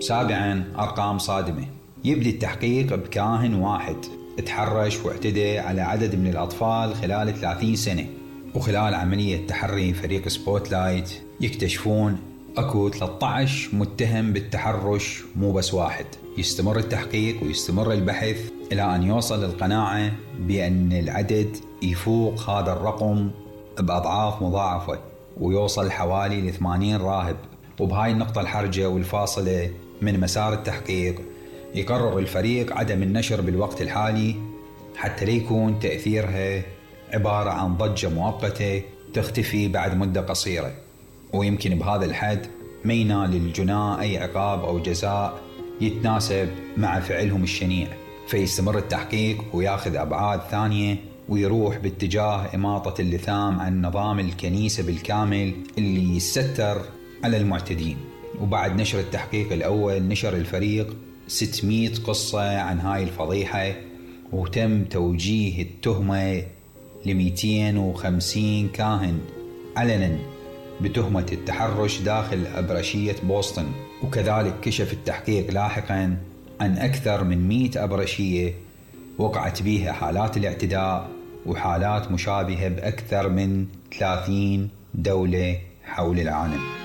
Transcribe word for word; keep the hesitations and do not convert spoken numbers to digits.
سابعا، أرقام صادمة. يبدي التحقيق بكاهن واحد تحرش واعتدى على عدد من الأطفال خلال ثلاثين سنة، وخلال عملية تحري فريق سبوتلايت يكتشفون أكو ثلاثة عشر متهم بالتحرش، مو بس واحد. يستمر التحقيق ويستمر البحث إلى أن يوصل للقناعة بأن العدد يفوق هذا الرقم بأضعاف مضاعفة، ويوصل حوالي لثمانين راهب. وبهاي النقطة الحرجة والفاصلة من مسار التحقيق يقرر الفريق عدم النشر بالوقت الحالي، حتى ليكون تأثيرها عبارة عن ضجة مؤقتة تختفي بعد مدة قصيرة، ويمكن بهذا الحد ما ينال الجناة أي عقاب أو جزاء يتناسب مع فعلهم الشنيع. فيستمر التحقيق وياخذ أبعاد ثانية، ويروح باتجاه إماطة اللثام عن نظام الكنيسة بالكامل اللي يستر على المعتدين. وبعد نشر التحقيق الأول نشر الفريق ستمائة قصة عن هاي الفضيحة، وتم توجيه التهمة ل مئتين وخمسين كاهن علنا بتهمة التحرش داخل أبرشية بوسطن. وكذلك كشف التحقيق لاحقا عن أكثر من مئة أبرشية وقعت بها حالات الاعتداء وحالات مشابهة بأكثر من ثلاثين دولة حول العالم.